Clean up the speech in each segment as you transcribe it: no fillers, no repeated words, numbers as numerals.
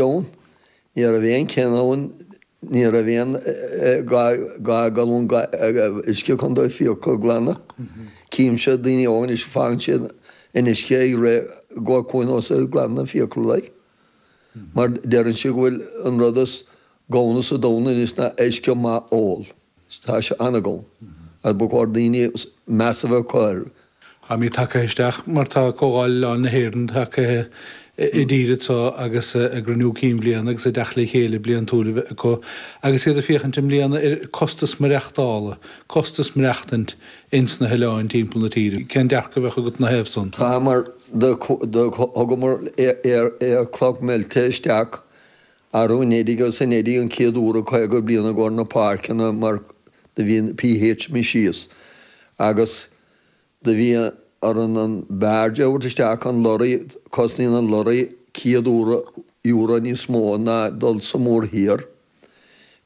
Ann. Ní raibh aon ceann ann, ní raibh aon 2 galún uisce chun do fiacha a ghlanadh. Címse daoine óga anois, fágann siad an uisce ag rith go conas ag glanadh na fiacha like. Mar deireann siad go bhfuil an rud is ganna sa domhan anois ná uisce maith ól. Tá sé an-ghann agus ba chóir daoine meas a bheith acu air. Táimid tagtha isteach mar tá Comhdháil Oileáin na hÉireann tagtha i dtír anseo agus a gcruinniú cinn bhliana agus a dteacht le chéile bliantúil a bheith acu agus iad ag féachaint i mbliana ar costas maireachtála, costas maireachtaint ins na hoileáin timpeall na tíre. Cén dearcadh a bheadh agat ina thaobh san? Tá mar do thugamar aolchloch mheilte isteach Arú anuraidh agus anuraidh an chéad uair i 50 bliain i gcomhair na páirceanna mar do bhí an pH imithe síos agus do bhí orainn an barge a thabhairt isteach, an lorry, cosnaíonn an lorry 100 euro níos mó ná dul sa mórthír.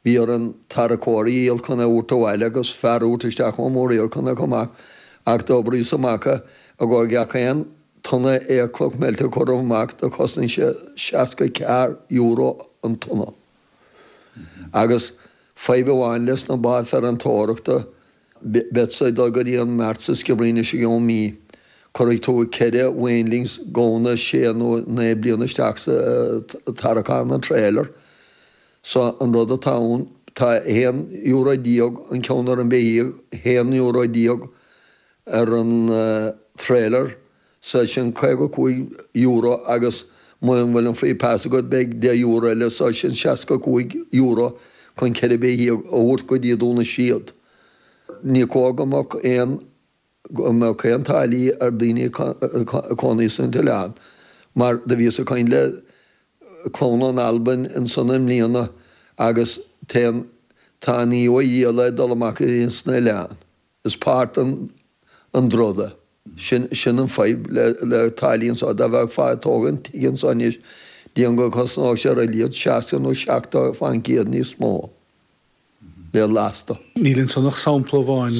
Bhí orainn tarracóirí a dhíol chun é a thabhairt abhaile agus fear a thabhairt isteach ón mórthír chun é a chur amach ach d'oibríos amach i gcomhair gach aon tonna aolchloch meilte a cuireadh amach do chosnaigh sé €64 an tonna. Agus fadhb amháin leis na báid farantóireachta, beadsa ag dul go dtí an mart sa Sciobairín anois i gceann mí, cuirfidh tú 4 weanlings gamhna sé nó 9 bliana isteach sa tarraiceán an trailer. So an rud atá ann, tá €11 an ceann ar an beithíoch, €11 ar an trailer so sin €55 agus muna bhfuil an free pass agat beidh €10 eile so sin €65 chun 4 beithíoch a thabhairt go dtí Dún na Séad. Ní cóir go mbeadh aon go mbeadh aon táillí ar daoine ag cónaí san t-oileán mar do bhíos ag caint le clann ón Albain ansan i mbliana agus téann tá an íomha ag dul amach ins na oileáin. Is páirt den an drud é. Sin sin an fadhb le le táillí anso. Dá bheifeá ag tógaint tigh anso anois, déarfainn go gcosnódh sé ar a laghad 60 nó 70% níos mó le lasta. Níl ansan ach sampla amháin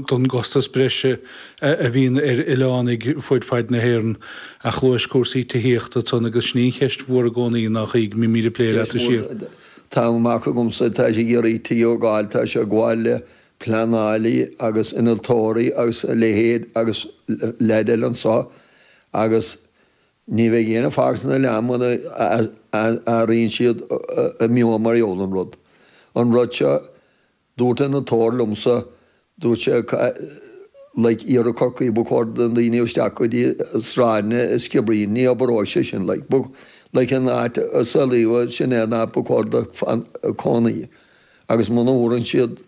den gcostas breise a bhíonn ar oileánaigh fud fad na hÉireann. Ach luais cúrsaí tithíochta ansan agus sin í an cheist mhór i gcónaí nach í go mbímid ag plé leat de shíor. Tá mac agamsa, tá sé ag iarraidh tigh a fháil, tá sé ag gabháil le pleanálaí agus innealtóirí agus a leithéid agus leaid eile anso agus ní bheidh éinne fágtha san oileán muna athraíonn siad a meon mar gheall an rud. An rud seo, dúirt innealtóir liomsa, dúirt sé like iarthar Chorcaí ba chóir do na daoine isteach go dtí sráideanna i Sciobairín, ní oibreoidh sé sin like, ba like an áit a saolaíodh sin é an áit ba chóir do cónaí. Agus muna bhfuaireann siad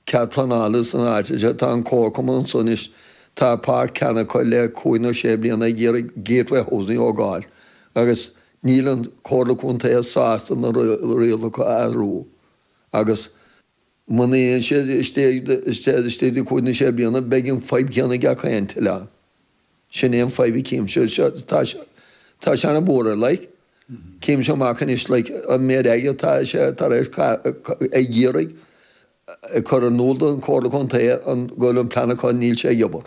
cead pleanála san áit seo, tá an comharchumann anso anois, tá páirc cheana acu le cúig nó sé bliana ag iarraidh Gateway Housing a thógáil agus níl an Comhairle Contae sásta na rialacha a athrú agus muna dhéanann siad istigh de cúig nó sé bliana beidh an fadhb chéanna ag gach aon oileán. Sin é an fadhb a chímse. Tá sé, tá sé ana-bhuartha, like. Címse amach anois, like, an méid airgid atá sé tar éis ag iarraidh ag cur in iúl don Chomhairle Contae an go bhfuil an plean acu, níl sé ag obair.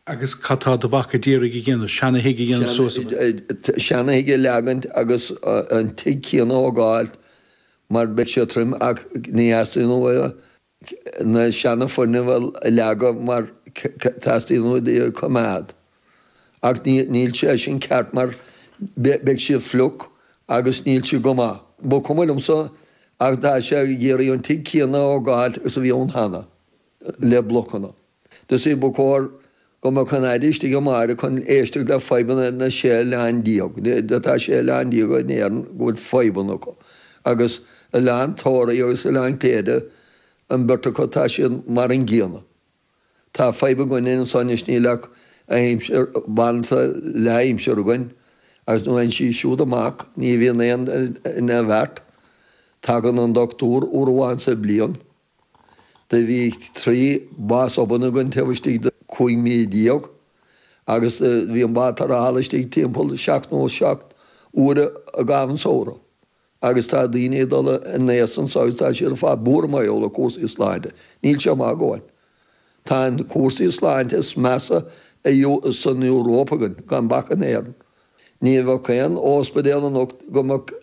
Agus cad tá do mhac ag iarraidh a dhéanamh? Seana-thigh a dhéanamh suas? Seana-thigh a leagaint agus an tigh céanna a thógáil mar beidh sé troim ach ní theastaíonn uaidh na seana-fhoirgnimh a leagadh mar teastaíonn uaidh iad a choimeád. Ach níl sé sin ceart mar beidh siad fliuch agus níl siad go maith. Ba chuma liomsa ach tá sé ag iarraidh an tigh céanna a thógáil is a bhí ann cheana, le blocanna. Do see, ba chóir go mbeadh an Aire istigh amárach chun éisteacht le fadhbanna na 16 oileán. Tá 16 oileán in Éirinn go bhfuil fadhbanna acu. Agus Oileán Tóraí agus Oileán Cléire, an bheirt acu, tá siad mar an gcéanna. Tá fadhb againne anso anois, níl ach aimsir, banaltra leath-aimsire againn agus nuair a théann sí siúd amach ní bhíonn aon ina bheart. Tagann an dochtúir uair amháin sa bhliain. Do bhí 3 bás obann againn taobh istigh de 15 mí agus bhí an bád tarrthála istigh timpeall 7 nó 7 uaire i gcaitheamh an samhradh agus tá daoine ag dul in aois anso agus tá siad ar fad buartha mar gheall ar cúrsaí sláinte. Níl sé maith againn. Tá an cúrsaí sláinte is measa san Euróip againn, gan bac in Éirinn. Ní bheadh aon óspidéal anocht go mbeadh.